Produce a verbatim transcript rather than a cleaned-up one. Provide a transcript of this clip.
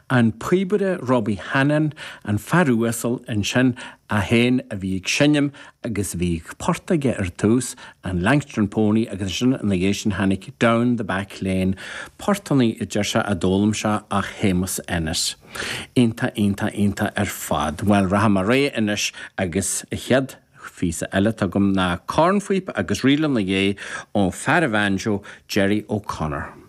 An píobaire Robbie Hannan, an fear uasal ansin é féin a bhí ag seinm agus bhí port aige ar tús an Langstone Pony agus sin ina dhiaidh sin tháinig Down the Back Lane, portanna a deir sé a d'fhoghlaim sé ó Shéamus Ennis. Iontach iontach iontach ar fad. Well rachaidh mé ar aghaidh anois agus an chéad phíosa eile agam ná cornphíopa agus ríle ina dhiaidh ó fear an bhanjo Jerry O'Connor.